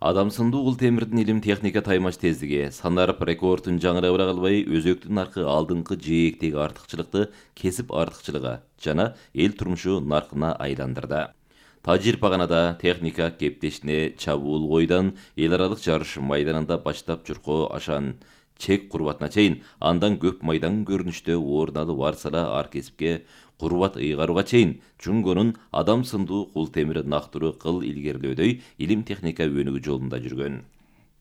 Адам сындуу кул темирдин илим техника таймаш тездиги санарып рекордун жаңырабыра калбай өзөктүн наркы алдыңкы жээктеги артыкчылыкты кесип артыкчылыгы жана эл турмушу наркына айландырды. Тажирпаганада техника кептешине чабуул койдан эл аралык жарыш майданында баштап журкоо ашан чек курбатына чейин, андан көп майдан көрүнүштө орун алып арсала ар кесипке курбат ыйгарууга чейин Жунгонун адам сындуу кул темири нактыруу кыл илгерилөөдөй илим техника өнүгүү жолунда жүргөн.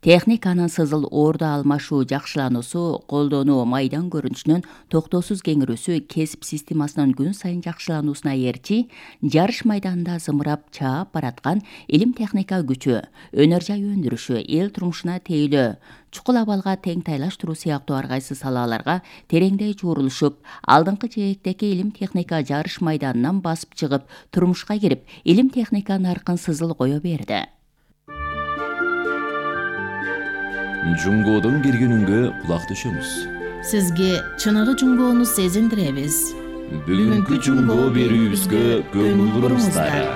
Техниканын сызыл орду алмашуу жакшылануусу, колдонуу майдан көрүнүшүнүн токтоосуз кеңирүүсү кесип системасынын күн сайын жакшылануусуна ээрчи, жарыш майданында зымырап чаап бараткан илим техника күчү, өнөр жай өндүрүшү, эл турмушуна тейлөө, чукул абалга тең тайлаштыруу сыяктуу ар кайсы салаларга тереңдей чурулушуп, алдыңкы жээктеги илим техника жарыш майданынан басып чыгып, турмушка кирип, илим техника наркын сызыл кое берди. Жунгоодон келгенүнгө кулак төшөмүз. Сизге чыныгы жунгоону сезиндиребиз. Бүгүнкү жунгоо берүүбүзгө көңүл буруңуздар.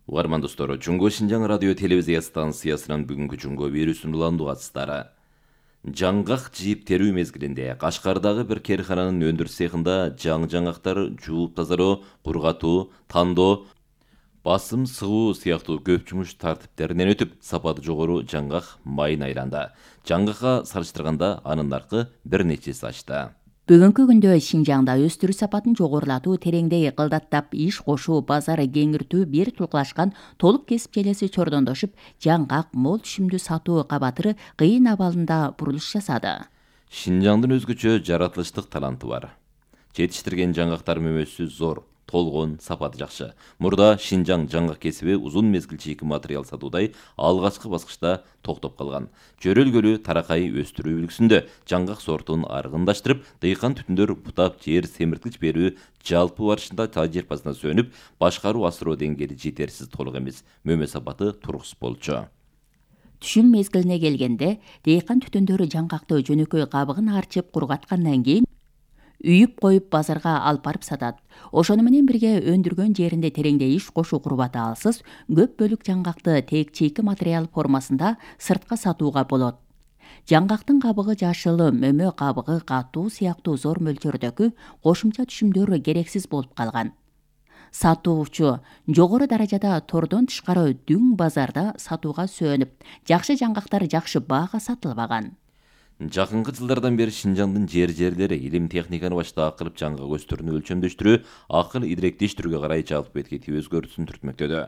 Угарман достор, Жунгоо Шинжаң радио телевизия станциясынын бүгүнкү жунгоо берүүсүн уландуу катыстары. Жаңгак жийип терүү мезгилинде Кашкардагы бир керкананын өндүрүш цехинда жаңгактар жууп тазалоо, кургатуу, тандоо, басым сыгуу сыяктуу көп жумуш тартиптеринен өтүп, сапаты жогору жаңгак майын айланды. Жаңгакка салыштырганда анын наркы бир нече эсе ачты. Бүгүнкү күндө Шинжаңда өстүрүү сапатын жогорулатуу, тереңдей кылдаттап иш кошуу, базары кеңиртүү бир тулкулашкан толук кесип желеси чордондошуп, жаңгак мол түшүмдүү сатуу кабатыры кыйын абалында бурулуш жасады. Шинжаңдын өзгөчө жаратылыштык таланты бар. Жетиштирген жаңгактар мөмөсү зор, толгон, сапаты жакшы. Мурда Шинжаң жаңгак кесиби узун мезгил чийки материал сатуудай алгачкы баскычта токтоп калган. Жөрөлгөлүү таракай өстүрүү үлгүсүндө жаңгак сортун аргындаштырып, дыйкан түтүндөр бутап жер семирткич берүү жалпы барышында тажирпасына сөнүп, башкаруу асыроо деңгээли жетерсиз толук эмес, мөмө сапаты туруксуз болчу. Түшүм мезгилине келгенде, дыйкан түтүндөрү жаңгакты жөнөкөй кабыгын арчып кургаткандан кийин үйүп коюп базарга алып барып сатат. Ошону менен бирге өндүргөн жеринде тереңдей иш кошуу курбаты алсыз, көп бөлүк жаңгакты тек чийки материал формасында сыртка сатууга болот. Жаңгактын кабыгы жашыл, мөмө кабыгы катуу сыяктуу зор мөлчөрдөгү кошумча түшүмдөр керексиз болуп калган. Сатуучу жогору даражада тордон тышкары дүң базарда сатууга сөнүп, жакшы жаңгактар жакшы баага сатылбаган. Жакынкы жылдардан бери Шинжаңдын жерлери илим техниканы баштап кылып жаңгак өстүрүүнү өлчөмдөштүрүү, акыл идиректештирүүгө карай жалпы бетке өзгөрүүсүн түртмөктөдө.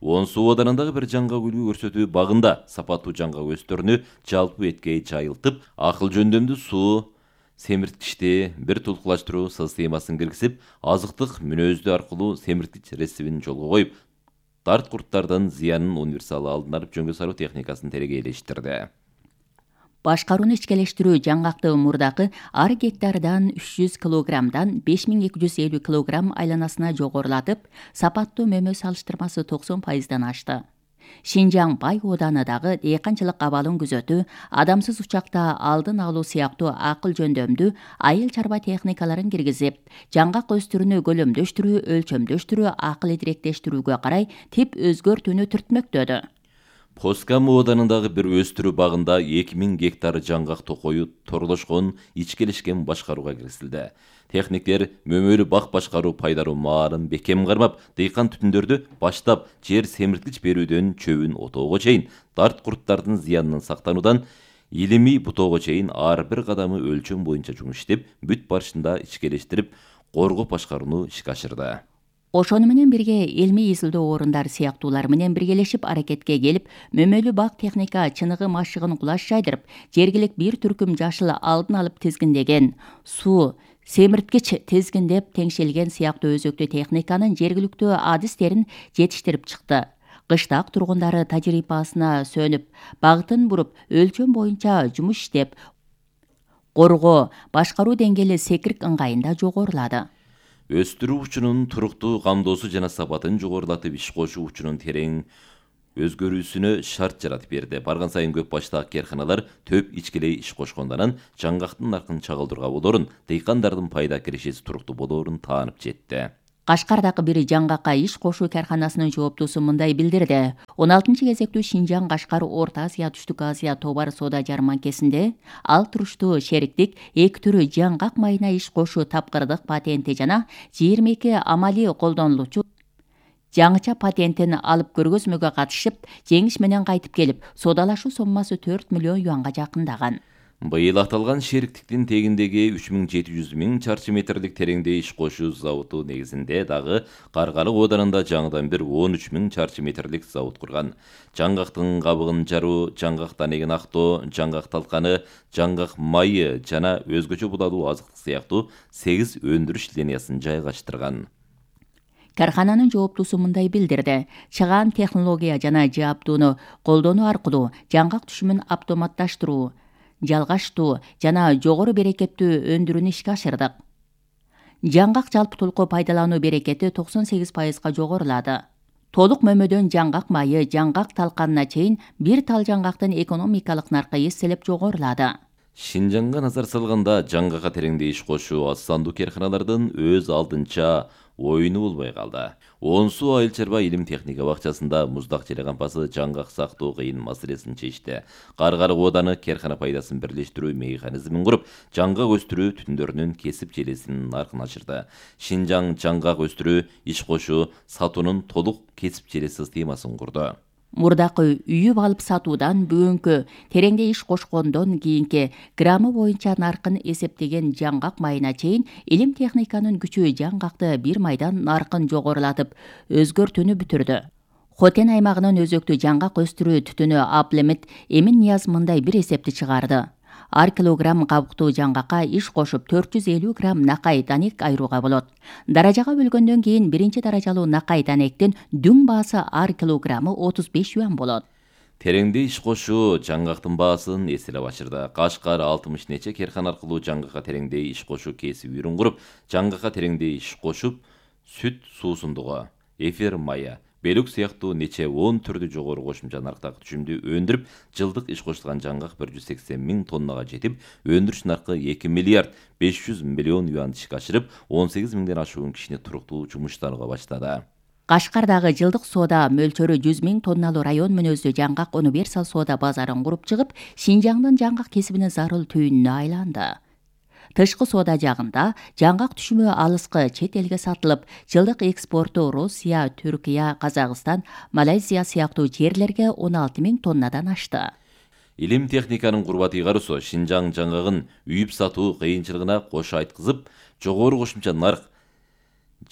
Онсу оданындагы бир жаңгак үлгү көрсөтүү багында сапаттуу жаңгак өстүрүүнү жалпы бетке жайылтып, акыл жөндөмдүү суу семирткичти бир тулкулаштыруу системасын киргизип, азыктык мүнөздүү аркылуу семирткич рецептин жолго коюп, дарт курттардын зыянын универсал алдын алып жөнгө салуу техникасын терегейлештирди. Башкарууну ичкелештирүү жаңгакты мурдакы ар гектардан 300 килограммдан 5250 килограмм айланасына жогорулатып, сапаттуу мөмө салыштырмасы 90%дан ашты. Шинжаң бай оданындагы дыйканчылык абалын күзөтүү, адамсыз учакта алдын алуу сыяктуу акыл жөндөмдүү айыл чарба техникаларын киргизип, жаңгак өстүрүүнү көлөмдөштүрүү, өлчөмдөштүрүү, акыл идиректештирүүгө карай тип өзгөртүүнү түртмөктөдү. Поскам оданындагы бир өстүрүү багында 2000 гектар жаңгак токою торлошкон, ичкелешкен башкарууга киргизилди. Техниктер мөмөлүү бак башкаруу пайдаруу маалын бекем кармап, дыйкан түтүндөрдү баштап жер семирткич берүүдөн чөбүн отоого чейин, дарт курттардын зыянынан сактануудан илимий бутоого чейин ар бир кадамы өлчөм боюнча жумуш иштеп, бүт барышында ичкелештирип, коргоп башкарууну ишке ашырды. Ошону менен бирге илмий изилдөө орундар сыяктуулар менен биргелешип аракетке келип, мөмөлүү бак техника чыныгы машыгын кулаш жайдырып, жергилик бир түркүм жашыл алдын алып тизгиндеген, суу семирткич тизгиндеп теңшелген сыяктуу өзөктүү техниканын жергиликтүү адистерин жетиштирип чыкты. Кыштак тургундары тажрыйбасына сөнүп, багытын буруп, өлчөм боюнча жумуш иштеп, коргоо, башкаруу деңгээли секирк ыңгайында жогорулады. Өстүрүү учунун туруктуу камдоосу жана сапатын жогорулатып иш кошуу учунун терең өзгөрүүсүнө шарт жаратып берди. Барган сайын көп баштагы керканалар төп ичкелей иш кошкондон жаңгактын наркын чагылдырууга болоорун, дыйкандардын пайда кирешеси туруктуу болоорун таанып жетти. Кашкардагы бир жаңгакка иш кошуу карканасынын жооптусу мындай билдирди. 16-кезектүү Шинжаң Кашкар Орто Азия Түштүк Азия товар соода жарманкесинде ал туруштуу шериктик 2 түрү жаңгак майына иш кошуу тапкырдык патенти жана 22 амалий колдонулуучу жаңыча патентин алып көргөзмөгө катышып, жеңиш менен кайтып келип, соодалашуу соммасы 4 миллион юанга жакындаган. Быйыл аталган шериктиктин тегиндеги 3700 миң чарчы метрлик тереңде иш кошуу заводу негизинде дагы Каргарык ооданында жаңыдан бир 13 миң чарчы метрлик завод курган. Жаңгактын кабыгын жаруу, жаңгак данегин актоо, жаңгак талканы, жаңгак майы жана өзгөчө будалуу азыктык сыяктуу 8 өндүрүш линиясын жайгаштырган. Кархананын жооптусу мындай билдирди. Чыгаан технология жана жааптууну колдонуу аркылуу жаңгак түшүмүн автоматташтыруу, жалгаштуу жана жогору берекеттүү өндүрүүнү ишке ашырдык. Жаңгак жалпы толку пайдалануу берекети 98%га жогорулады. Толук мөмөдөн жаңгак майы, жаңгак талканына чейин бир тал жаңгактын экономикалык наркы эселеп жогорулады. Шинжаңга назар салганда жаңгакка тереңде иш кошуу аз сандуу карканалардын өз алдынча оюну болбой калды. Онсу Айыл чарба илим техника бакчасында муздак желе кампасы жаңгак сактоо кыйын маселесин чечти. Каргарык ооданы каркана пайдасын бирлештирүү механизмин куруп, жаңгак өстүрүү түтүндөрүнүн кесип желесинин наркын ачырды. Шинжаң жаңгак өстүрүү, иш кошуу, сатуунун толук кесип желе системасын курду. Мурдакы үйүп алып сатуудан бүгүнкү тереңде иш кошкондон кийинки граммы боюнча наркын эсептеген жаңгак майына чейин илим техниканын күчү жаңгакты бир майдан наркын жогорулатып өзгөртүүнү бүтүрдү. Хотен аймагынын өзөктүү жаңгак өстүрүү түтүнү Аплемит Эмин Нияз мындай бир эсепти чыгарды. Ар килограмм кабыктуу жаңгакка иш кошуп 450 грамм накай данек айырууга болот. Даражага бөлгөндөн кийин биринчи даражалуу накай данектин дүң баасы ар килограммы 35 юан болот. Тереңде иш кошуу жаңгактын баасын эселеп ачырды. Кашкар 60 нече каркана аркылуу жаңгакка тереңде иш кошуу кесип үйрүн куруп, жаңгакка тереңде иш кошуп, сүт суусундугу, эфир майы, белүк сыяктуу нече 10 түрдүү жогору кошумча нарктагы түшүмдү өндүрүп, жылдык иш кошулган жаңгак 180 миң тоннага жетип, өндүрүш наркы 2 миллиард 500 миллион юан ишке ашырып, 18 миңден ашуун кишини туруктуу жумуштанууга баштады. Кашкардагы жылдык соода мөлчөрү 100 миң тонналуу район мүнөздүү жаңгак универсал соода базарын куруп чыгып, Шинжаңдын жаңгак кесибинин зарыл түйүнүнө айланды. Тышкы соода жагында жаңгак түшүмү алыскы чет элге сатылып, жылдык экспорту Россия, Түркия, Казакстан, Малайзия сыяктуу жерлерге 16 миң тоннадан ашты. Илим техниканын курбат ыйгаруусу Шинжаң жаңгагын үйүп сатуу кыйынчылыгына кошо айткызып, жогору кошумча нарк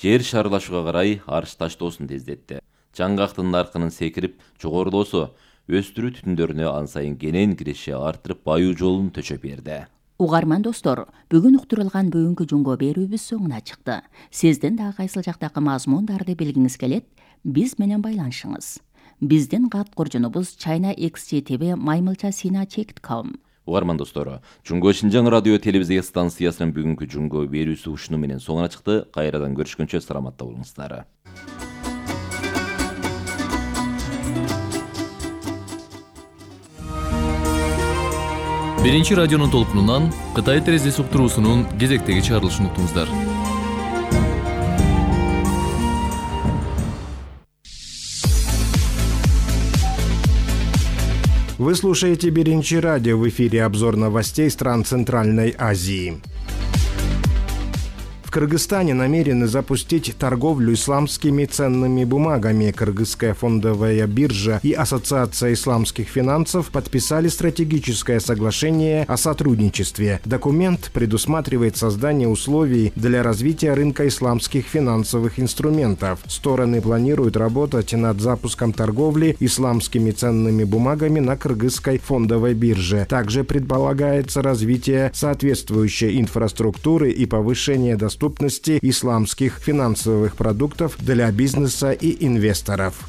жер шарылашууга карай арыш таштоосун тездетти. Жаңгактын наркынын секирип жогорулоосу өстүрүү түтүндөрүнө ан сайын кенен киреше артырып, баюу жолун төчөп берди. Угарман достор, бүгүн уктурулган бүгүнкү жунго берүүбүз соңуна чыкты. Сиздин да кайсыл жактагы мазмундарды билгиңиз келет, биз менен байланышыңыз. Биздин кат коржунубуз china.xtv@maymilcha.sina.com. Угарман достору, Жунго Шинжаң радио телевизия станциясынын бүгүнкү жунго берүүсү ушуну менен соңуна чыкты. Кайрадан көрүшкөнчө саламатта болуңуздар. Биринчи радионун толкунунан Кытай терезеси уктуруусунун кезектеги чыгарылышын уктуңуздар. Вы слушаете Биринчи радио, в эфире обзор новостей стран Центральной Азии. В Кыргызстане намерены запустить торговлю исламскими ценными бумагами. Кыргызская фондовая биржа и Ассоциация исламских финансов подписали стратегическое соглашение о сотрудничестве. Документ предусматривает создание условий для развития рынка исламских финансовых инструментов. Стороны планируют работать над запуском торговли исламскими ценными бумагами на Кыргызской фондовой бирже. Также предполагается развитие соответствующей инфраструктуры и повышение доступности исламских финансовых продуктов для бизнеса и инвесторов.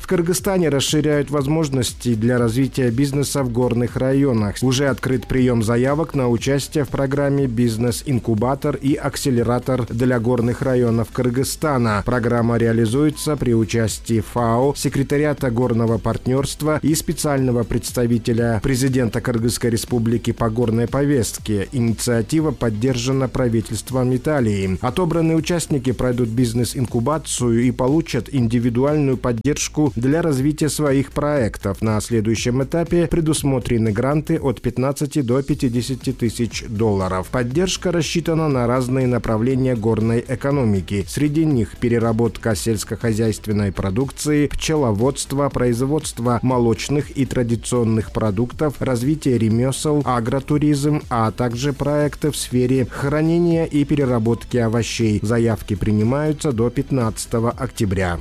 В Кыргызстане расширяют возможности для развития бизнеса в горных районах. Уже открыт прием заявок на участие в программе «Бизнес-инкубатор» и «Акселератор для горных районов Кыргызстана». Программа реализуется при участии ФАО, секретариата горного партнерства и специального представителя президента Кыргызской республики по горной повестке. Инициатива поддержана правительством Италии. Отобранные участники пройдут бизнес-инкубацию и получат индивидуальную поддержку для развития своих проектов. На следующем этапе предусмотрены гранты от 15 до 50 тысяч долларов. Поддержка рассчитана на разные направления горной экономики. Среди них переработка сельскохозяйственной продукции, пчеловодство, производство молочных и традиционных продуктов, развитие ремесел, агротуризм, а также проекты в сфере хранения и переработки овощей. Заявки принимаются до 15 октября.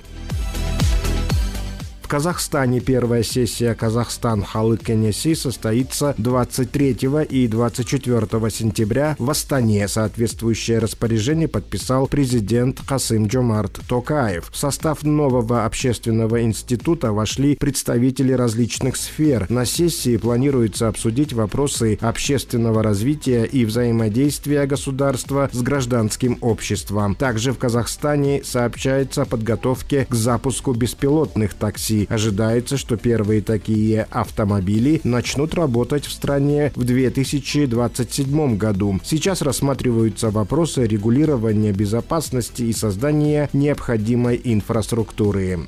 В Казахстане первая сессия «Казахстан Халық Кенеси» состоится 23 и 24 сентября в Астане. Соответствующее распоряжение подписал президент Касым-Жомарт Токаев. В состав нового общественного института вошли представители различных сфер. На сессии планируется обсудить вопросы общественного развития и взаимодействия государства с гражданским обществом. Также в Казахстане сообщается о подготовке к запуску беспилотных такси. Ожидается, что первые такие автомобили начнут работать в стране в 2027 году. Сейчас рассматриваются вопросы регулирования безопасности и создания необходимой инфраструктуры.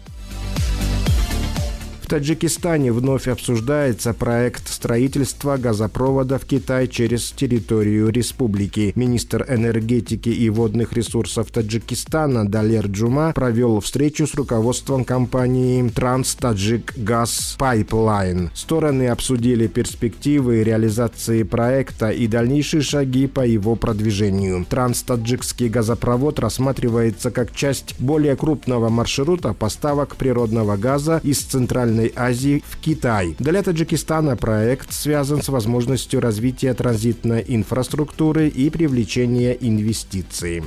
В Таджикистане вновь обсуждается проект строительства газопровода в Китай через территорию республики. Министр энергетики и водных ресурсов Таджикистана Далер Джума провел встречу с руководством компании Транс-Таджик Газ Пайплайн. Стороны обсудили перспективы реализации проекта и дальнейшие шаги по его продвижению. Транс-Таджикский газопровод рассматривается как часть более крупного маршрута поставок природного газа из Центральной Азии в Китай. Для Таджикистана проект связан с возможностью развития транзитной инфраструктуры и привлечения инвестиций.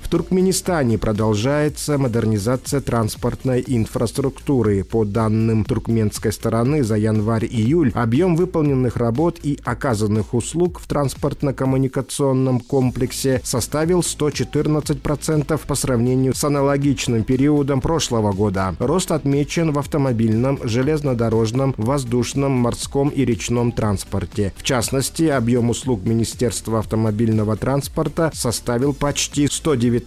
В Туркменистане продолжается модернизация транспортной инфраструктуры. По данным туркменской стороны, за январь-июль объем выполненных работ и оказанных услуг в транспортно-коммуникационном комплексе составил 114% по сравнению с аналогичным периодом прошлого года. Рост отмечен в автомобильном, железнодорожном, воздушном, морском и речном транспорте. В частности, объем услуг Министерства автомобильного транспорта составил почти 119%,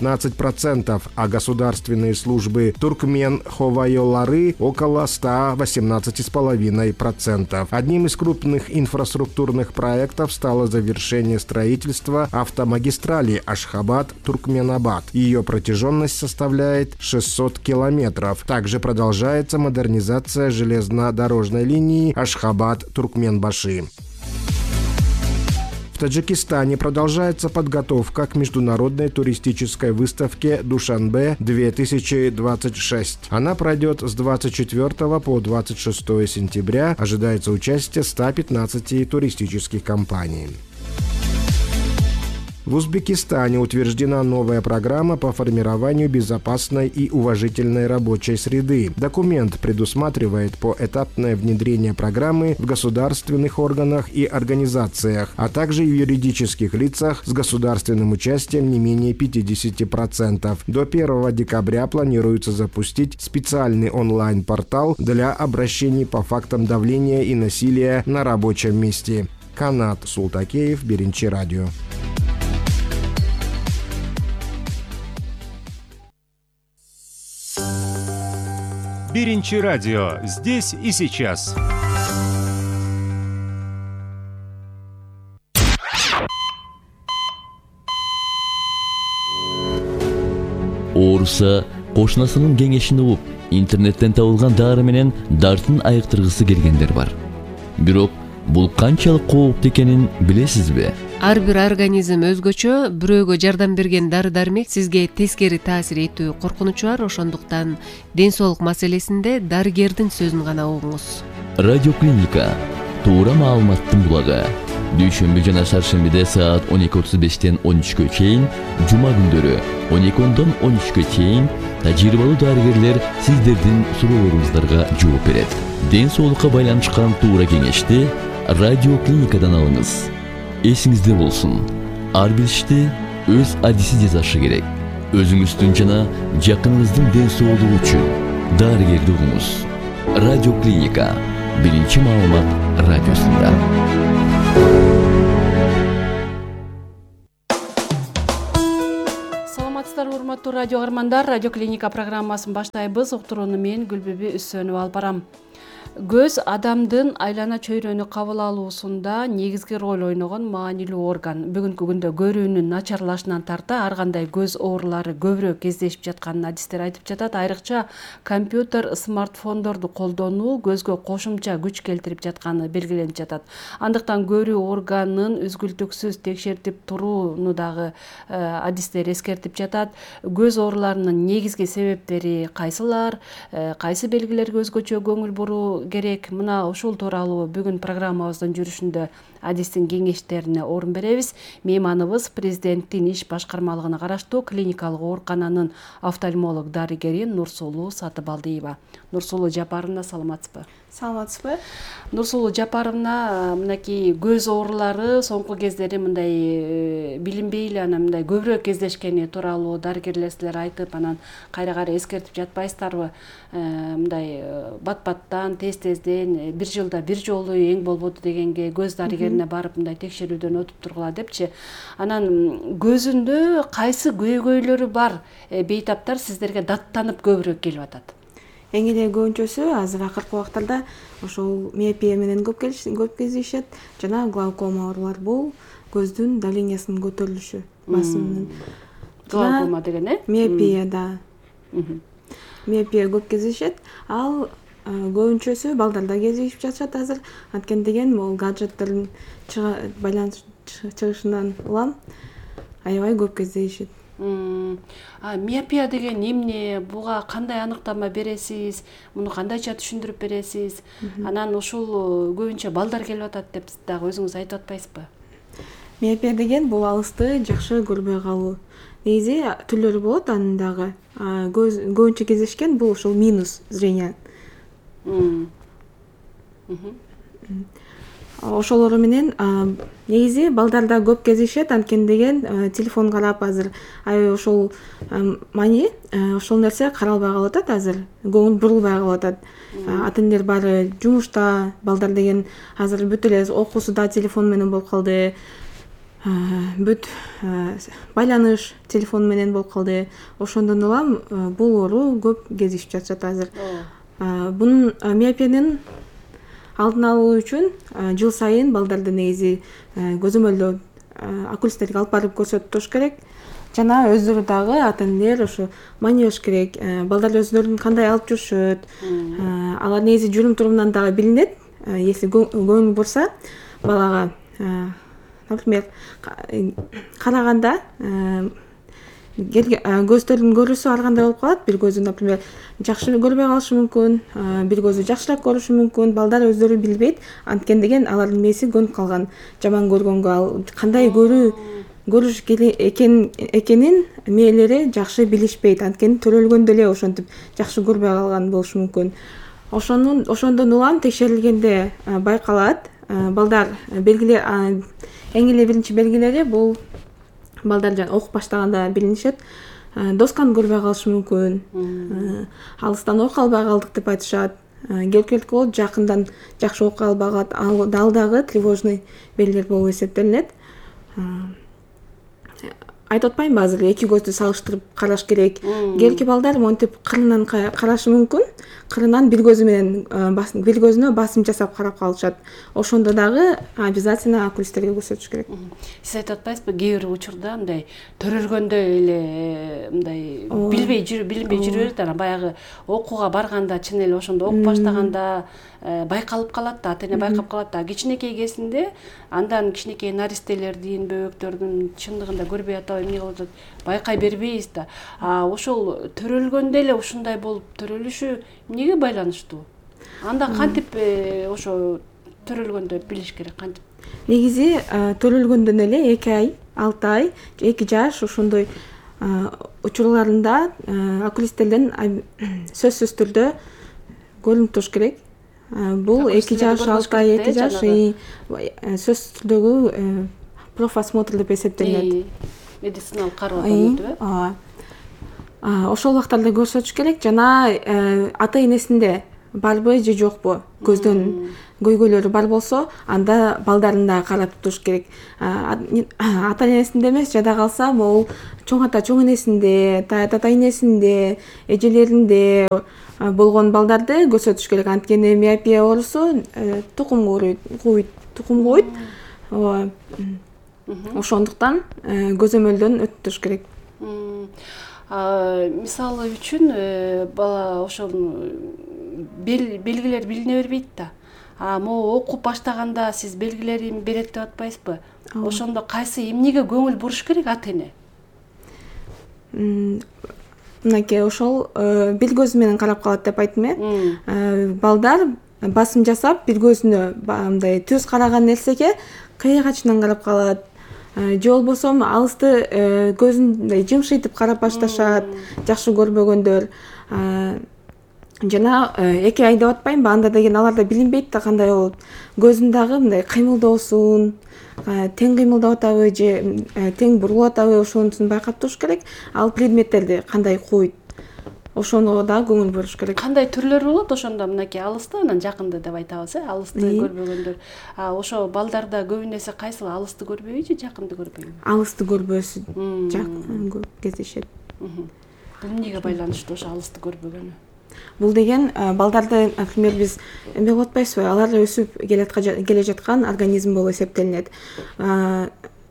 а государственные службы Туркмен Ховайолары около 118,5%. Одним из крупных инфраструктурных проектов стало завершение строительства автомагистрали Ашхабад-Туркменабад. Ее протяженность составляет 600 километров. Также продолжается модернизация железнодорожной линии Ашхабад-Туркменбаши. В Таджикистане продолжается подготовка к международной туристической выставке «Душанбе-2026». Она пройдет с 24 по 26 сентября. Ожидается участие 115 туристических компаний. В Узбекистане утверждена новая программа по формированию безопасной и уважительной рабочей среды. Документ предусматривает поэтапное внедрение программы в государственных органах и организациях, а также в юридических лицах с государственным участием не менее 50%. До 1 декабря планируется запустить специальный онлайн-портал для обращений по фактам давления и насилия на рабочем месте. Канат Султакеев, Биринчи радио. Биринчи радио. Здесь и сейчас. Ооруса кошунасынын кеңешин угуп, интернеттен табылган дары менен дартын айыктыргысы келгендер бар. Бирок бул канчалык кооптуу экенин билесизби? Ар бир организм өзгөчө, бирөөгө жардам берген дары-дармек сизге тескери таасир этүү коркунучу бар, ошондуктан ден соолук маселесинде дарыгердин сөзүн гана угуңуз. Радиоклиника. Туура маалыматтын булагы. дүйшөмбү жана шаршембиде саат 12:35 13-кө чейин, жума күндөрү 12:10 13-кө чейин тажрыйбалуу дарыгерлер сиздердин суроолоруңуздарга жооп берет. Ден соолукка байланышкан туура кеңешти радио клиникадан алыңыз. Эсиңизде болсун, ар бир ишти өз адиси жасашы керек. Өзүңүздүн жана жакыныңыздын ден соолугу үчүн дарыгерди угуңуз. Радио клиника, биринчи маалымат радиосунда. Саламатсыздарбы, урматтуу радио каармандар. Радио клиника программасын баштайбыз. Уктурууну мен Гүлбүбү Үсөнүп алып барам. Көз адамдын айлана чөйрөнү кабыл алуусунда негизги роль ойногон маанилүү орган. Бүгүнкү күндө көрүүнүн начарлашынан тарта ар кандай көз оорулары көбүрөөк кездешип жатканын адистер айтып жатат. Айрыкча компьютер, смартфондорду колдонуу көзгө кошумча күч келтирип жатканы белгиленип жатат. Андыктан көрүү органын үзгүлтүксүз текшертип турууну дагы адистер эскертип жатат. Көз ооруларынын негизги себептери кайсылар, кайсы белгилерге өзгөчө көңүл буруу керек? Мына ушул тууралуу бүгүн программабыздын жүрүшүндө адистин кеңештерине орун беребиз. Мейманыбыз президенттин иш башкармалыгына караштуу клиникалык оорукананын офтальмолог дарыгери Нурсулуу Сатыбалдиева. Нурсулуу Жапаровна, саламатсызбы? Саламатсызбы? Нурсулуу Жапаровна, мынакей көз оорулары соңку кездери мындай билинбей эле анан мындай көбүрөөк кездешкени тууралуу дарыгерлер силер айтып, анан кайра эскертип жатпайсыздарбы? Мындай бат-баттан, тез-тезден бир жылда бир жолу эң болбоду дегенге көз дарыгерине барып мындай текшерүүдөн өтүп тургула депчи. Анан көзүндө кайсы көйгөйлөрү бар бейтаптар сиздерге даттанып көбүрөөк келип атат? Эң эле көбүнчөсү азыр акыркы убактарда ошол миопия менен көп кездешет жана глаукома оорулар. Бул көздүн давлениясынын көтөрүлүшү, басымынын. Глаукома деген миопия да. Миопия көп кездешет. Ал көбүнчөсү балдарда кездешип жатышат азыр. Анткени деген бул гаджеттердин байланыш чыгышынан улам аябай көп кездешет. Миопия деген эмне? Буга кандай аныктама бересиз? Муну кандайча түшүндүрүп бересиз? Анан ушул көбүнчө балдар келип атат деп дагы өзүңүз айтып атпайсызбы? Миопия деген бул алысты жакшы көрбөй калуу. Негизи түрлөрү болот анын дагы. Көбүнчө кездешкен бул ушул минус зрения. Ошолору менен негизи балдарда көп кездешет. Анткени деген телефон карап азыр ошол мани ошол нерсе каралбай калып атат азыр. Көңүл бурулбай калып атат. Ата-энелер баары жумушта, балдар деген азыр бүт эле окуусу да телефон менен болуп калды. Бүт байланыш телефон менен болуп калды. Ошондон улам бул оору көп кездешип жатат азыр. Бунун миопиянын алдын алуу үчүн жыл сайын балдарды негизи көзөмөлдөө окулисттерге алып барып көрсөтүп туруш керек. Жана өздөрү дагы ата-энелер ошо маниеш керек. Балдар өздөрүн кандай алып жүрүшөт. Алар негизи жүрүм турумунан дагы билинет. Если көңүл бурса балага, например, караганда көздөрдүн көрүүсү ар кандай болуп калат. Бир көзү, например, жакшы көрбөй калышы мүмкүн, бир көзү жакшыраак көрүшү мүмкүн. Балдар өздөрү билбейт. Анткени деген алардын мээси көнүп калган. Жаман көргөнгө, ал кандай көрүш экенин мээлери жакшы билишпейт. Анткени төрөлгөндө эле ошентип жакшы көрбөй калган болушу мүмкүн. Ошондон улам текшерилгенде байкалат. Балдар белгилер, эң эле биринчи белгилери бул балдар окуп баштаганда билинишет. Досканы көрбөй калышы мүмкүн. Алыстан окуй албай калдык деп айтышат. Келип болот, жакындан жакшы окуй албай калат. Ал дагы тревожный белгилер болуп эсептелинет. Айтып атпаймынбы, азыр эки көздү салыштырып караш керек. Келки балдар монтип кырынан карашы мүмкүн. Кырынан бир көзү менен бир көзүнө басым жасап карап калышат. Ошондо дагы обязательно окулисттерге көрсөтүш керек. Сиз айтып атпайсызбы, кээ бир учурда мындай төрөлгөндө эле мындай билинбей жүрүп берет. Анан баягы окууга барганда чын эле ошондо окуп баштаганда байкалып калат да, ата-эне байкап калат да. Кичинекей кезинде андан кичинекей наристелердин, бөбөктөрдүн чындыгында көрбөй атабы эмне кылып атат, байкай бербейбиз да. Ошол төрөлгөндө эле ушундай болуп төрөлүшү эмнеге байланыштуу? Анда кантип ошо төрөлгөндө билиш керек, кантип негизи төрөлгөндөн эле 2 ай, 6 ай, 2 жаш ошондой учурларында окулисттерден сөзсүз түрдө көрүнүп туруш керек. Бул 2 жаш, 6 ай, 2 жаш сөзсүз түрдөгү профосмотр деп эсептелинет. Медициналык кароо өтүп. Ошол убактарда көрсөтүш керек, жана ата энесинде барбы же жокпу, көздөн көйгөйлөрү бар болсо, анда балдарын да каратып туруш керек. Ата энесинде эмес, жада калса, могул чоң ата чоң энесинде, тата энесинде, эжелеринде болгон балдарды көрсөтүш керек. Анткени миопия оорусу тукум кууйт. Ошондуктан көзөмөлдөн өтүп туруш керек. Мисалы үчүн бала ошол белгилер билине бербейт да. Могу окуп баштаганда сиз белгилерин берет деп атпайсызбы? Ошондо кайсы эмнеге көңүл буруш керек ата эне? Мынакей ошол бир көзү менен карап калат деп айттым э. Балдар басым жасап бир көзүнө мындай түз караган нерсеге кыя качынан карап калат. Же болбосо алысты көзүн жымшыйтып карап башташат, жакшы көрбөгөндөр. Жана 2 ай деп атпаймынбы, анда деген аларда билинбейт да кандай болот. Көзүн дагы мындай кыймылдоосун, тең кыймылдап атабы же тең бурулуп атабы, ошонусун байкап туруш керек. Ал предметтерди кандай кууйт, ошону да көңүл буруш керек. Кандай түрлөрү болот ошондо? Мынакей алысты, анан жакынды деп айтабыз, алысты көрбөгөндөр. Ошо балдарда көбүн эсе кайсыл, алысты көрбөйбү же жакынды көрбөйбү? Алысты көрбөсү жакын кездешет. Бул эмнеге байланыштуу ошо алысты көрбөгөнү? Бул деген балдарды, например, биз эме кылып атпайсызбы, алар өсүп келе жаткан организм болуп эсептелинет.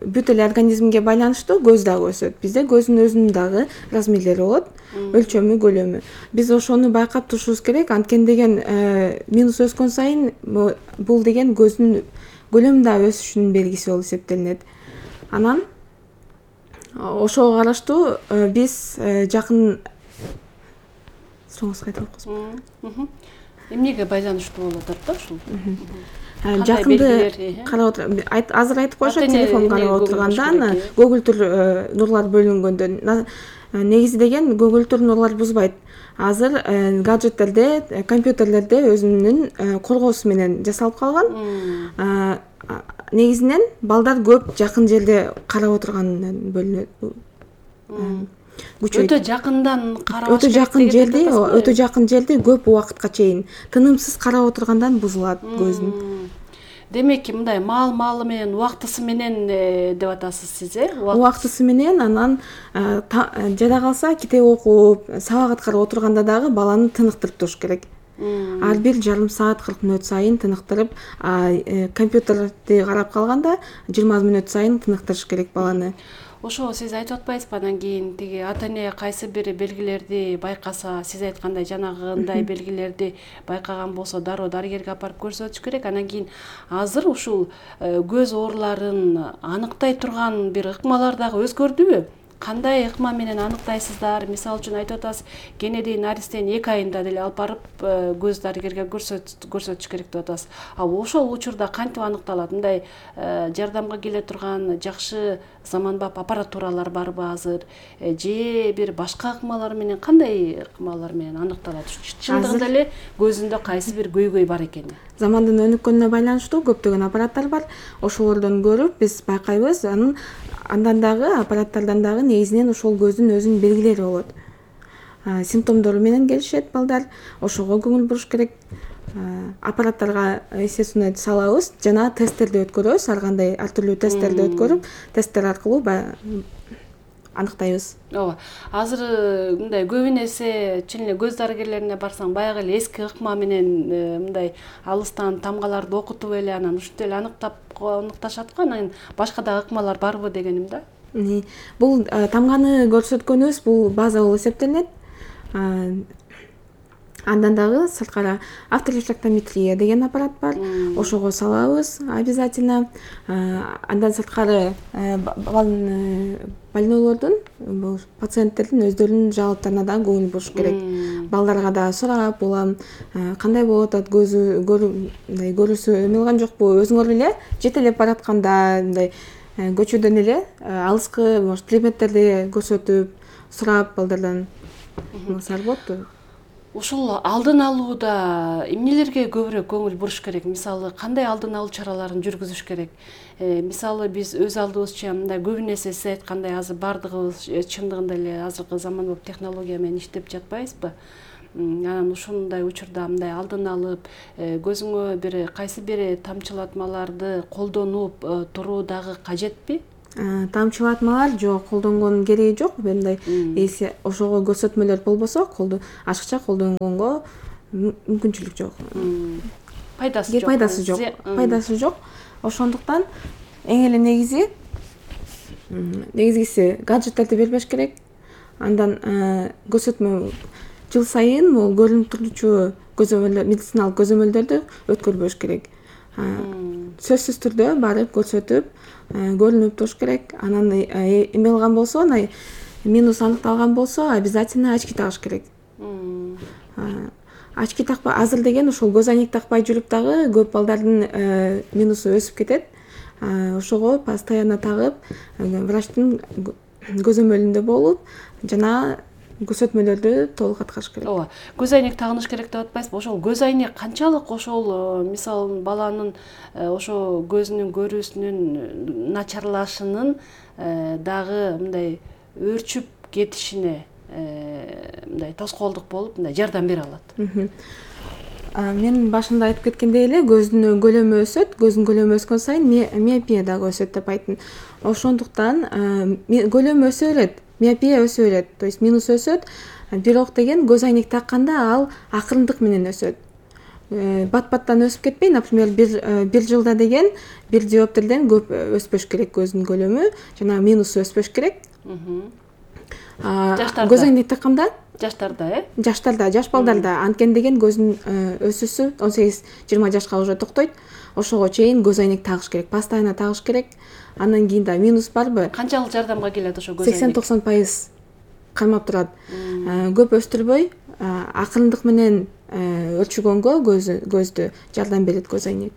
Бүт эле организмге байланыштуу көз дагы өсөт. Бизде көздүн өзүнүн дагы размерлери болот, өлчөмү, көлөмү. Биз ошону байкап турушубуз керек. Анткени деген минус өскөн сайын бул деген көздүн көлөмү дагы өсүшүнүн белгиси болуп эсептелинет. Анан ошого караштуу биз жакын эмнеге байланыштуу болуп атат да ушул? Жакынды карап азыр айтып коюшат, телефон карап отурганда көгүлтүр нурлар бөлүнгөндөн. Негизи деген көгүлтүр нурлар бузбайт. Азыр гаджеттерде, компьютерлерде өзүнүн коргоосу менен жасалып калган. Негизинен балдар көп жакын жерде карап отургандан бөлүнөт. Өтө жакындан карабаш керек. Өтө жакын жерде көп убакытка чейин тынымсыз карап отургандан бузулат көздүн. Демек, мындай маал-маалы менен, убактысы менен деп атасыз сиз, Убактысы менен, анан жада калса китеп окуп, сабак аткарып отурганда дагы баланы тыныктырып туруш керек. Ар бир жарым саат 40 мүнөт сайын тыныктырып, компьютерди карап калганда 20 мүнөт сайын тыныктырыш керек баланы. Ошо сиз айтып атпайсызбы, анан кийин тиги ата эне кайсы бир белгилерди байкаса, сиз айткандай жанагындай белгилерди байкаган болсо дароо дарыгерге апарып көрсөтүш керек. Анан кийин азыр ушул көз ооруларын аныктай турган бир ыкмалар дагы өзгөрдүбү? Кандай ыкма менен аныктайсыздар? Мисалы үчүн айтып атасыз, кенеди наристен 2 айында деле алып барып көз дарыгерге көрсөтүш керек деп атасыз. Ошол учурда кантип аныкталат? Мындай жардамга келе турган жакшы заманбап аппаратуралар барбы азыр? Же бир башка ыкмалар менен, кандай ыкмалар менен аныкталат? Чындыгында эле көзүндө кайсы бир көйгөй бар экени? Замандын өнүккөнүнө байланыштуу көптөгөн аппараттар бар. Ошолордон көрүп биз байкайбыз. Андан дагы аппараттардан дагы негизинен ошол көздүн өзүнүн белгилери болот. Симптомдору менен келишет балдар. Ошого көңүл буруш керек. Аппараттарга естественно салабыз жана тесттерди өткөрөбүз. Ар кандай ар түрдүү тесттерди өткөрүп, тесттер аркылуу аныктайбыз. Ооба. Азыр мындай көбүн эсе чын эле көз дарыгерлерине барсаң, баягы эле эски ыкма менен мындай алыстан тамгаларды окутуп эле анан ушинтип эле аныкташат го. Анан башка дагы ыкмалар барбы дегеним да. Бул тамганы көрсөткөнүбүз бул база болуп эсептелинет. Андан дагы сырткары авторефлектометрия деген аппарат бар. Ошого салабыз обязательно. Андан сырткары больнойлордун, бул пациенттердин өздөрүнүн жаабаттарына да көңүл буруш керек. Балдарга да сурап, улам кандай болуп атат, көрүүсү эме кылган жокпу, өзүңөр эле жетелеп баратканда мындай көчөдөн эле алыскы может предметтерди көрсөтүп, сурап балдардан кылсаңар болот. Ушул алдын алууда эмнелерге көбүрөөк көңүл буруш керек? Мисалы, кандай алдын алуу чараларын жүргүзүш керек? Мисалы, биз өз алдыбызча мындай көбүнесе сиз айткандай азыр бардыгыбыз чындыгында эле азыркы заманбап технология менен иштеп жатпайбызбы? Анан ушундай учурда мындай алдын алып, көзүңө бир кайсы бир тамчылатмаларды колдонуп туруу дагы кажетпи? Тамчылатмалар жок, колдонгонун кереги жок. Мындай эси ошого көрсөтмөлөр болбосо, ашыкча колдонгонго мүмкүнчүлүк жок. Пайдасы жок. Ошондуктан эң эле негизгиси гаджеттерди бербеш керек. Андан көрсөтмө жыл сайын бул көрүнүп турчу медициналык көзөмөлдөрдү өткөрбөш керек. Сөзсүз түрдө барып көрсөтүп, көрүнүп туруш керек. Анан эме кылган болсо, минус аныкталган болсо, обязательно очки тагыш керек. Очки такпай, азыр деген ошол көз айнек такпай жүрүп дагы көп балдардын минусу өсүп кетет. Ошого постоянно тагып, врачтын көзөмөлүндө болуп, жана көрсөтмөлөрдү толук аткарыш керек. Ооба, көз айнек тагыныш керек деп атпайсызбы? Ошол көз айнек канчалык ошол мисалы баланын ошо көзүнүн көрүүсүнүн начарлашынын дагы мындай өөрчүп кетишине мындай тоскоолдук болуп мындай жардам бере алат. Мен башында айтып кеткендей эле көздүн көлөмү өсөт, көздүн көлөмү өскөн сайын миопия дагы өсөт деп айттым. Ошондуктан көлөмү өсө берет, миопия өсө берет, то есть минус өсөт. Бирок деген көз айнек такканда ал акырындык менен өсөт. Бат-баттан өсүп кетпей, например, бир жылда деген бир диоптрден көп өспөш керек көздүн көлөмү, жана минусу өспөш керек. Көз айнек такканда жаштарда, жаш балдарда анткени деген көздүн өсүүсү 18-20 жашка уже токтойт. Ошого чейин көз айнек тагыш керек, постоянно тагыш керек. Андан кийин да минус барбы? Канчалык жардамга келет ошо көз айнек? 80-90% кармап турат. Көп өстүрбөй, акырындык менен өлчүгөнгө көздү жардам берет көз айнек.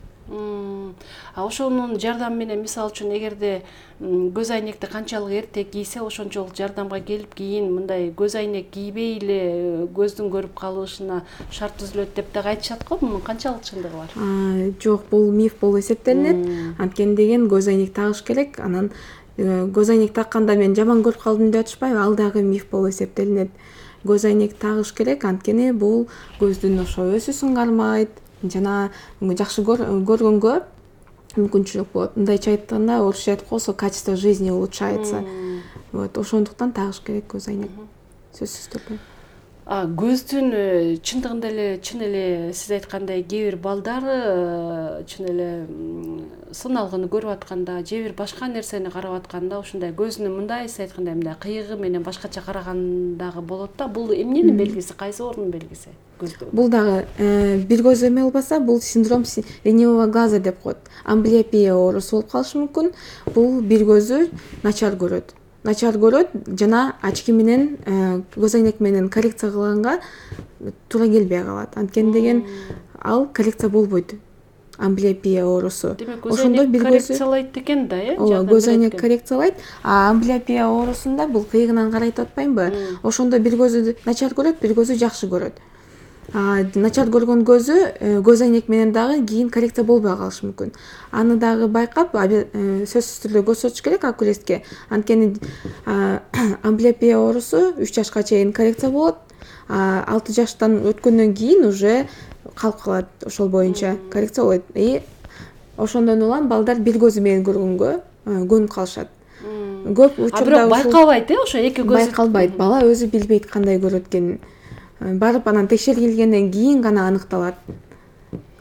Ошонун жардамы менен мисалы үчүн эгерде көз айнекти канчалык эрте кийсе, ошончолук жардамга келип, кийин мындай көз айнек кийбей эле көздүн көрүп калышына шарт түзүлөт деп дагы айтышат го. Мунун канчалык чындыгы бар? Жок, бул миф болуп эсептелинет. Анткени деген көз айнек тагыш керек. Анан көз айнек такканда мен жаман көрүп калдым деп атышпайбы, ал дагы миф болуп эсептелинет. Көз айнек тагыш керек, анткени бул көздүн ошо өсүүсүн кармайт, жана жакшы көргөнгө мүмкүнчүлүк болот. Мындайча айтканда, орусча айтып койсо, качество жизни улучшается. Вот, ошондуктан тагыш керек көз айнек. Сөзсүз түрдө. Көздүн чындыгында эле, чын эле сиз айткандай кээ бир балдар чын эле сыналгыны көрүп атканда, же бир башка нерсени карап атканда ушундай көзүнүн мындай сиз айткандай мындай кыйыгы менен башкача карагандагы болот да. Бул эмненин белгиси, кайсы оорунун белгиси? Бул дагы бир көз эме болбаса, бул синдром ленивого глаза деп коет. Амблиопия оорусу болуп калышы мүмкүн. Бул бир көзү начар көрөт жана очки менен көз айнек менен коррекция кылганга туура келбей калат. Анткени деген ал коррекция болбойт. Амблиопия оорусу. Ошондо бир коррекциялайт экен да, Ооба, көз айнек коррекциялайт. Амблиопия оорусунда бул кыйыгынан карайт деп атпаймынбы? Ошондо бир көзү начар көрөт, бир көзү жакшы көрөт. Начар көргөн көзү көз айнек менен дагы кийин коррекция болбой калышы мүмкүн. Аны дагы байкап, сөзсүз түрдө көрсөтүш керек окулистке. Анткени амблиопия оорусу 3 жашка чейин коррекция болот. 6 жаштан өткөндөн кийин уже калып калат, ошол боюнча коррекция болот. Ошондон улам балдар бир көзү менен көргөнгө көнүп калышат. Көп учурда бирок байкалбайт, ошо эки көзү байкалбайт. Бала өзү билбейт кандай көрөт экенин. Барып анан текшерилгенден кийин гана аныкталат.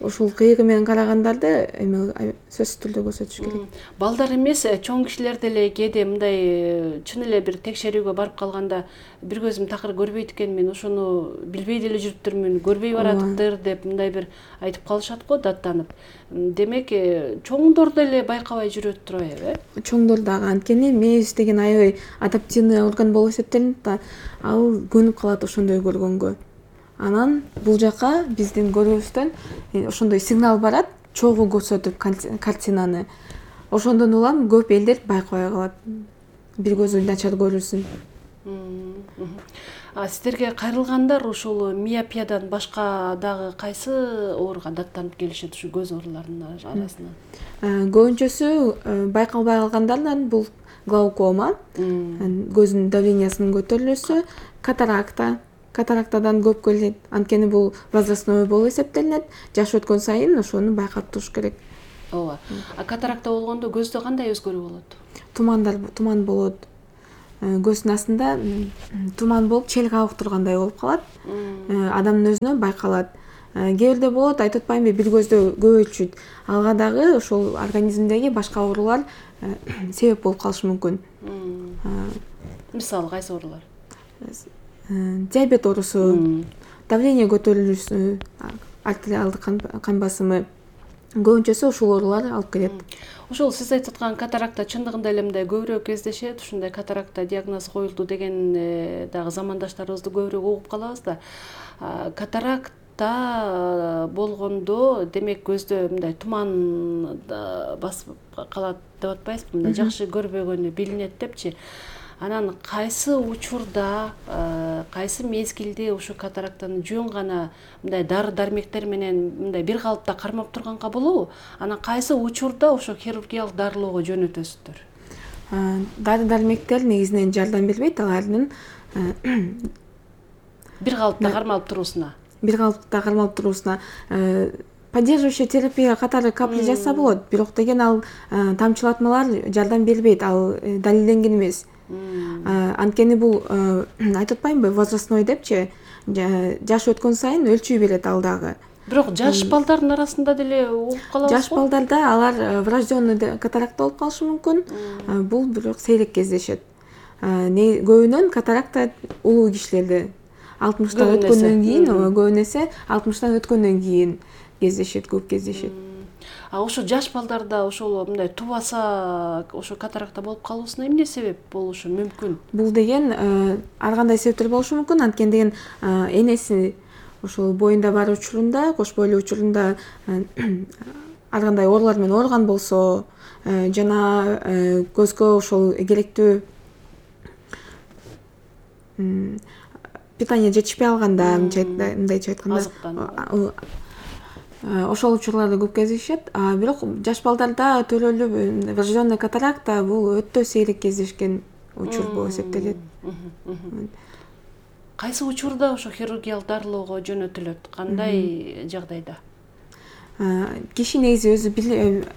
ушул кыйгы менен карагандарды эме сөзсүз түрдө көрсөтүш керек. Балдар эмес, чоң кишилер деле кээде мындай чын эле бир текшерүүгө барып калганда бир көзүм такыр көрбөйт экен, мен ошону билбей деле жүрүптүрмүн, көрбөй баратыптыр деп мындай бир айтып калышат го, даттанып. Демек, чоңдор деле байкабай жүрөт турбайбы, э? Чоңдор дагы, анткени мээбиз деген аябай адаптивный орган болуп эсептелинет да, ал көнүп калат ошондой көргөнгө. Анан бул жака биздин көрүүбүздөн ошондой сигнал барат, чогуу көрсөтүп картинаны. Ошондон улам көп элдер байкабай калат. Бир көзү начар көрүүсүн. Сиздерге кайрылгандар ушул миопиядан башка дагы кайсы ооруга даттанып келишет, ушу көз ооруларынын арасынан? Көбүнчөсү байкалбай калгандардан бул глаукома, көздүн давлениясынын көтөрүлүүсү, катаракта. Катарактадан көп келет, анткени бул возрастной болуп эсептелинет. Жаш өткөн сайын ошону байкап туруш керек. Ооба. Катаракта болгондо көздө кандай өзгөрүү болот? Туман болот. Көздүн астында туман болуп, чел кабык тургандай болуп калат. Адамдын өзүнө байкалат. Кээ бирде болот, айтып атпаймынбы, бир көздө көбөйтүшүт. Алга дагы ошол организмдеги башка оорулар себеп болуп калышы мүмкүн. Мисалы кайсы оорулар? Диабет оорусу, давление көтөрүлүүсү, артериалдык кан басымы, көбүнчөсү ушул оорулар алып келет. Ошол сиз айтып аткан катаракта чындыгында эле мындай көбүрөөк кездешет, ушундай катаракта диагноз коюлду деген дагы замандаштарыбызды көбүрөөк угуп калабыз да. Катаракта болгондо демек көздө мындай туман басып калат деп атпайсызбы? Мындай жакшы көрбөгөнү билинет депчи. Анан кайсы учурда, кайсы мезгилде ушу катарактаны жөн гана мындай дары-дармектер менен мындай бир калыпта кармап турганга болобу? Анан кайсы учурда ошо хирургиялык дарылоого жөнөтөсүздөр? Дары-дармектер негизинен жардам бербейт, алардын бир калыпта кармалып туруусуна. Поддерживающая терапия катары капли жазса болот, бирок деген ал тамчылатмалар жардам бербейт, ал далилденген эмес. Анткени бул айтып атпаймынбы, возрастной депчи, жаш өткөн сайын өлчүй берет ал дагы. Бирок жаш балдардын арасында деле угуп калабыз го. Жаш балдарда алар врожденный катаракта болуп калышы мүмкүн. Бул бирок сейрек кездешет. Көбүнөн катаракта улуу кишилерде 60-тан өткөндөн кийин, көбүнесе 60-тан өткөндөн кийин кездешет, көп кездешет. Ошо жаш балдарда ошол мындай тубаса ошо катаракта болуп калуусуна эмне себеп болушу мүмкүн? Бул деген ар кандай себептер болушу мүмкүн, анткени деген энеси ошол боюнда бар учурунда, кош бойлуу учурунда ар кандай оорулар менен ооруган болсо, жана көзгө ошол керектүү питание жетишпей алганда, мындайча айтканда, ошол учурларда көп кездешет. Бирок жаш балдарда төрөлүп врожденный катаракта бул өтө сейрек кездешкен учур болуп эсептелет. Кайсы учурда ошо хирургиялык дарылоого жөнөтүлөт? Кандай жагдайда? Киши негизи өзү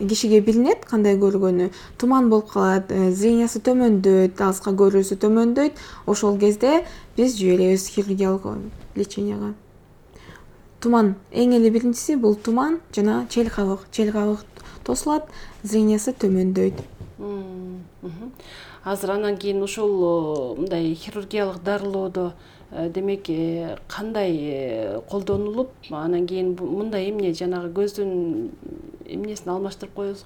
кишиге билинет кандай көргөнү. Туман болуп калат, зрениясы төмөндөйт, алыска көрүүсү төмөндөйт. Ошол кезде биз жиберебиз хирургиялык леченияга. Туман эң эле биринчиси бул туман жана чел кабык. Чел кабык тосулат, зрениясы төмөндөйт. Азыр анан кийин ушул мындай хирургиялык дарылоодо демек кандай колдонулуп, анан кийин мындай эмне жанагы көздүн эмнесин алмаштырып коебуз?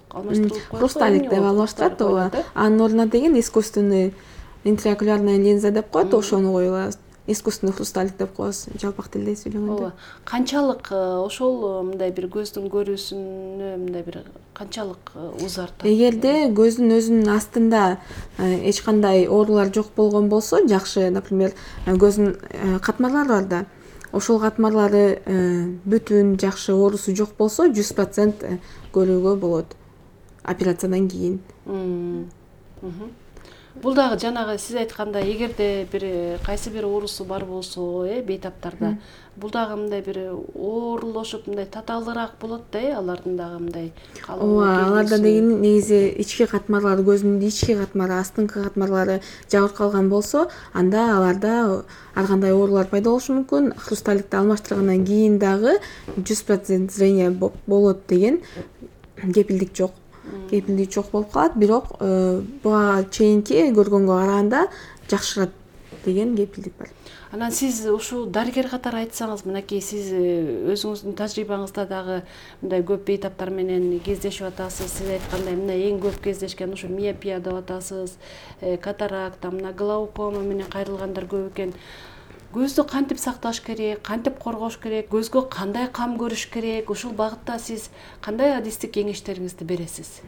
Хрусталик деп алмаштырат, ооба. Анын ордуна деген искусственный интраокулярная линза деп коет, ошону коюлат. Искусственный хрусталик деп коебуз, жалпак тилде сүйлөгөндө. Канчалык ошол мындай бир көздүн көрүүсүнө мындай бир канчалык узартат? Эгерде көздүн өзүнүн астында эч кандай оорулар жок болгон болсо, жакшы, например, көздүн катмарлары бар да. Ошол катмарлары бүтүн, жакшы, оорусу жок болсо, 100% көрүүгө болот операциядан кийин. Бул дагы жанагы сиз айткандай эгерде бир кайсы бир оорусу бар болсо, бейтаптарда, бул дагы мындай бир оорлошуп мындай татаалыраак болот да, алардын дагы мындай. Ооба, аларда негизи ички катмарлары, көзүнүн ички катмары, астыңкы катмарлары жабырып калган болсо, анда аларда ар кандай оорулар пайда болушу мүмкүн. Хрусталикти алмаштыргандан кийин дагы 100% зрение болот деген кепилдик жок. Кепилдик жок болуп калат, бирок буга чейинки көргөнгө караганда жакшырат деген кепилдик бар. Анан сиз ушул дарыгер катары айтсаңыз, мынакей сиз өзүңүздүн тажрыйбаңызда дагы мындай көп бейтаптар менен кездешип атасыз. Сиз айткандай мына эң көп кездешкен ушу миопия деп атасыз, катаракта, мына глаукома менен кайрылгандар көп экен. Көздү кантип сакташ керек, кантип коргош керек, көзгө кандай кам көрүш керек? Ушул багытта сиз кандай адистик кеңештериңизди бересиз?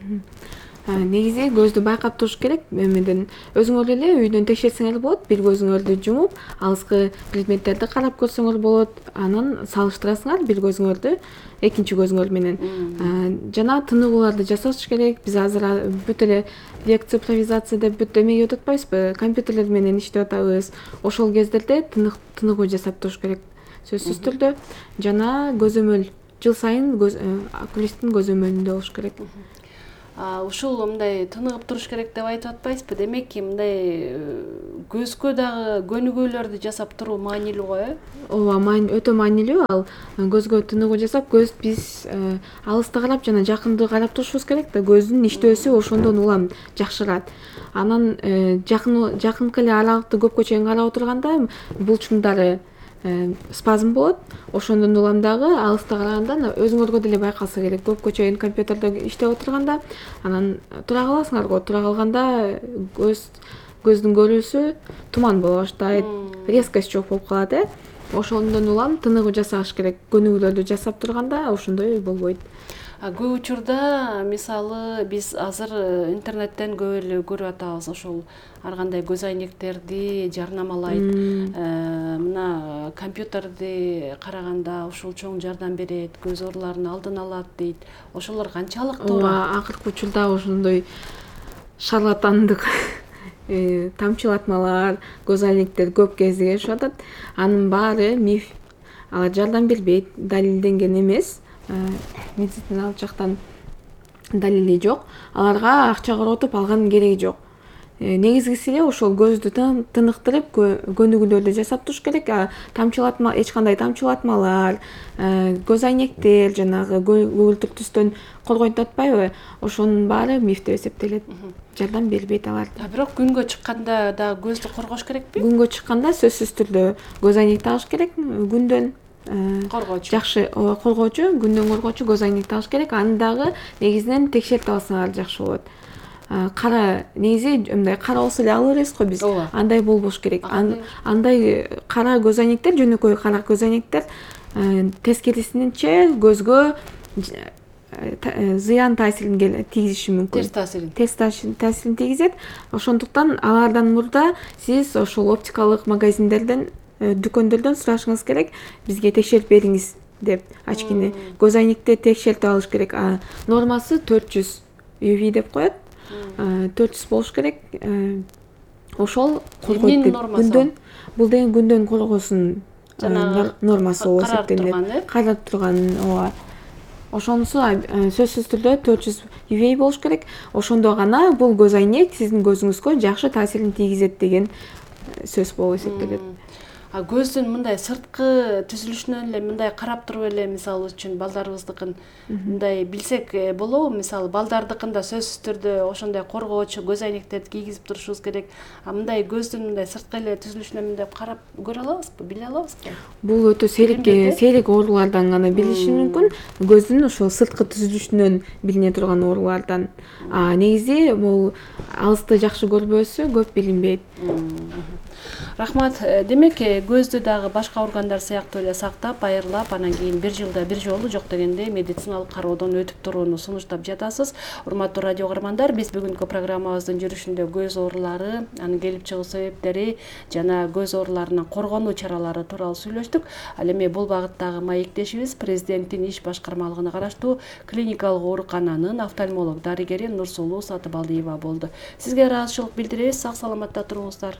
Негизи көздү байкап туруш керек. Эмеден өзүңөр эле үйдөн текшерсеңер болот. Бир көзүңөрдү жумуп, алыскы предметтерди карап көрсөңөр болот. Анан салыштырасыңар бир көзүңөрдү экинчи көзүңөр менен. Жана тыныгууларды жасаш керек. Биз азыр бүт эле рецифровизация деп бүт эмеге өтүп атпайбызбы? Компьютерлер менен иштеп атабыз. Ошол кездерде тыныгуу жасап туруш керек сөзсүз түрдө. Жана көзөмөл жыл сайын окулисттин көзөмөлүндө болуш керек. Ушул мындай тыныгып туруш керек деп айтып атпайсызбы? Демек, мындай көзгө дагы көнүгүүлөрдү жасап туруу маанилүү го, Ооба, өтө маанилүү. Ал көзгө тыныгуу жасап, көз биз алыста карап жана жакынды карап турушубуз керек да. Көздүн иштөөсү ошондон улам жакшырат. Анан жакынкы эле аралыкты көпкө чейин карап отурганда булчуңдары спазм болот. Ошондон улам дагы алыста караганда өзүңөргө деле байкалса керек. Көпкө чейин компьютерде иштеп отурганда анан тура каласыңар го. Тура калганда көздүн көрүүсү туман боло баштайт, резкость жок болуп калат. Ошондон улам тыныгуу жасаш керек. Көнүгүүлөрдү жасап турганда ошондой болбойт. Көп учурда мисалы биз азыр интернеттен көп эле көрүп атабыз, ошол ар кандай көз айнектерди жарнамалайт. Мына компьютерди караганда ушул чоң жардам берет, көз ооруларынын алдын алат дейт. Ошолор канчалык туура? Ооба, акыркы учурда ошондой шарлатандык тамчылатмалар, көз айнектер көп кездешип атат. Анын баары миф. Алар жардам бербейт, далилденген эмес. Медициналык жактан далили жок. Аларга акча коротуп алган кереги жок. Негизгиси эле ошол көздү тыныктырып, көнүгүүлөрдү жасап туруш керек. Тамчылатма, эч кандай тамчылатмалар, көз айнектер жанагы көгүлтүр түстөн коргойт деп атпайбы? Ошонун баары миф деп эсептелет. Жардам бербейт алар. Бирок күнгө чыкканда да көздү коргош керекпи? Күнгө чыкканда сөзсүз түрдө көз айнек тагыш керек. Күндөн коргоочу. Жакшы коргоочу, күндөн коргоочу көз айнек тагыш керек. Аны дагы негизинен текшертип алсаңар жакшы болот. Кара негизи мындай кара болсо эле ала беребиз го биз. Андай болбош керек. Андай кара көз айнектер, жөнөкөй кара көз айнектер тескерисинче көзгө зыян таасирин тийгизиши мүмкүн. Терс таасирин тийгизет. Ошондуктан алардан мурда сиз ошол оптикалык магазиндерден, дүкөндөрдөн сурашыңыз керек. Бизге текшерип бериңиз деп. Ачкине көз айнекти текшертип алыш керек. Нормасы 400 UV деп коет. 400 болуш керек. Ошол коргойт деп. Күндөн бул деген күндөн коргоосун нормасы болуп эсептелет. Карап турган, ооба. Ошонусу сөзсүз түрдө 400 UV болуш керек. Ошондо гана бул көз айнек сиздин көзүңүзгө жакшы таасирин тийгизет деген сөз болуп эсептелет. Көздүн мындай сырткы түзүлүшүнөн эле мындай карап туруп эле мисалы үчүн балдарыбыздыкын мындай билсек болобу? Мисалы балдардыкында сөзсүз түрдө ошондой коргоочу көз айнектерди кийгизип турушубуз керек. Мындай көздүн мындай сырткы эле түзүлүшүнөн мындай карап көрө алабызбы, биле алабызбы? Бул өтө сейрек оорулардан гана билиши мүмкүн. Көздүн ошол сырткы түзүлүшүнөн билине турган оорулардан. Негизи бул алысты жакшы көрбөөсү көп билинбейт. Рахмат. Демек көздү дагы башка органдар сыяктуу эле сактап, айырлап, анан кийин бир жылда бир жолу жок дегенде медициналык кароодон өтүп турууну сунуштап жатасыз. Урматтуу радио каармандар, биз бүгүнкү программабыздын жүрүшүндө көз оорулары, анын келип чыгуу себептери жана көз ооруларынан коргонуу чаралары тууралуу сүйлөштүк. Ал эми бул багыттагы маектешибиз президенттин иш башкармалыгына караштуу клиникалык оорукананын офтальмолог дарыгери Нурсулуу Сатыбалдиева болду. Сизге ыраазычылык билдиребиз. Сак саламатта туруңуздар.